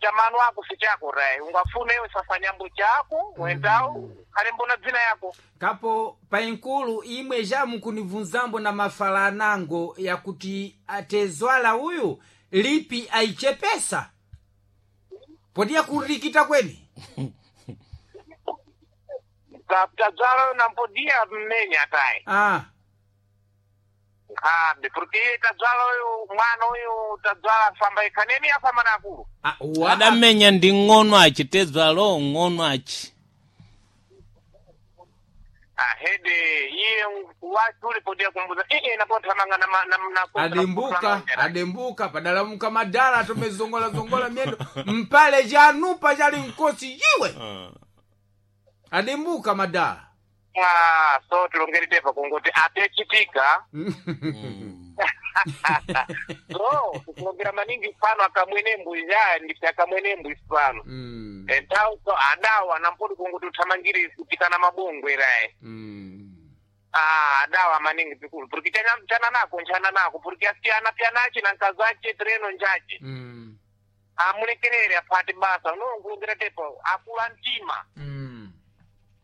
Chamano ako si chako rai ungafuna iwe sasa nyambo chako wendao kale mbona dzina yako. Kapo painkulu imwe jamukunibvunzambo na mafala anango yakuti atezwala uyu lipi aichepesa podiya kurikita kweni. Tadzala nampodia mmenya tayi. Ah. Nkhabe porque iye tadzala uyu mwana uyu tadzala afamba ikhaneni afamba na akulu. Ah, wa- Adamenya ndi ng'ono achi tezwalo ng'ono achi. Ahede iye wachule podia kumbuza ee napothamanga na Adimbuka adimbuka padalamuka madala tomezongola-zongola myendo mpale janupa chali nkosi yiwe adimbuka madala. Ah, so tilongeri tepa kungoti atechitika. So kulongera maningi mfano akamwene mbui ya ndipti akamwene mbui fano. Entau so adawa nampodi kungoti uthamangire kutikana mabongwe rae. Ah, adawa maningi pikulu porque chana nako nchana nako porque asiyana pyanache na nkazache treno njache. Amulekerere aphate basa no nkulongera tepa akula mtima.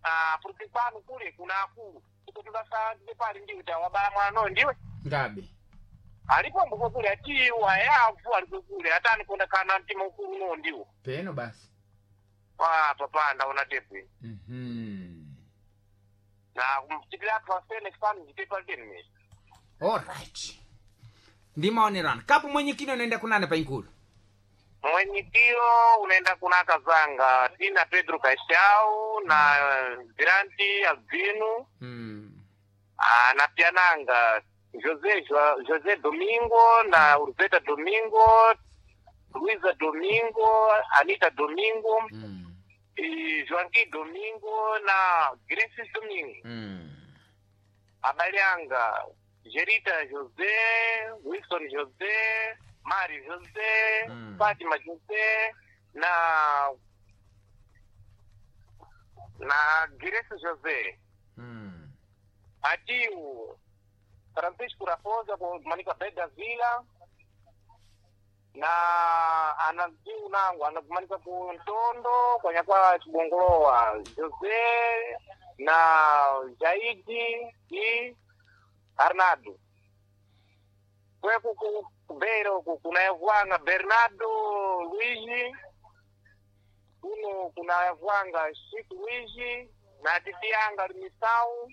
Ah, porque kwanu kule kuna akulu ikutulasa pali ndiwe tawabala mwana no ndiwe. Ngabe. Alipo mbuko kule atiwa yavu aliko kule atani kunda kana mtima ukulu no ndiwo. Peno basi. Ah, papa ndaona tepu iyi. Na kumchitira athu asene fanu jitepa teni. Alright, ndimaonerana kapo mwenyekini unaenda kunane painkulu. Mwenyikio unaenda kuna kazanga Tina Pedro Kaishau na Viranti Albino. Ah, na Piananga José José Domingo na Urzeta Domingo, Luisa Domingo, Anita Domingo, e Joaquim Domingo na Grace Domingo. Abalianga Gerita José, Wilson José, Mário José, Fátima José na Grace José. Atiu Francisco Raposa kumanika Beda Vila na anaziu nangu anakumanika ku Ntondo kwanya kwa Chibongolowa José na Jaidi i Arnaldo kweku kubeira uku kuna Evwanga Bernardo Luigi kuno kuna Evwanga Chico Luigi na titianga Misau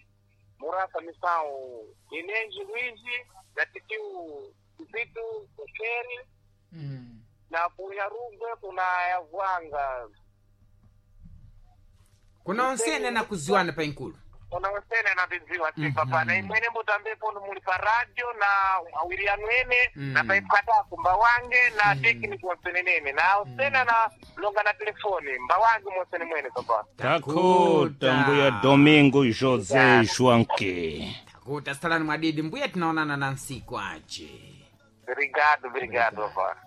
Murasa Misau Inenji Luigi na titiu Vitu Keri na kunyarugwe kuna Evwanga. Kuna onsene na kuziwana painkulu. Kuna osene anaviziwa si papa na imwene mbutambepo muli pa radio na awiri anwene na paipatako mbawange na tekniki wasenenene na osene na longa na telefoni mbawange mosene mwene papa. Takuta mbuya Domingo José Joanque. Takuta salani mwadidi mbuya tinaonana na nsiku ache. Obrigado, obrigado papa.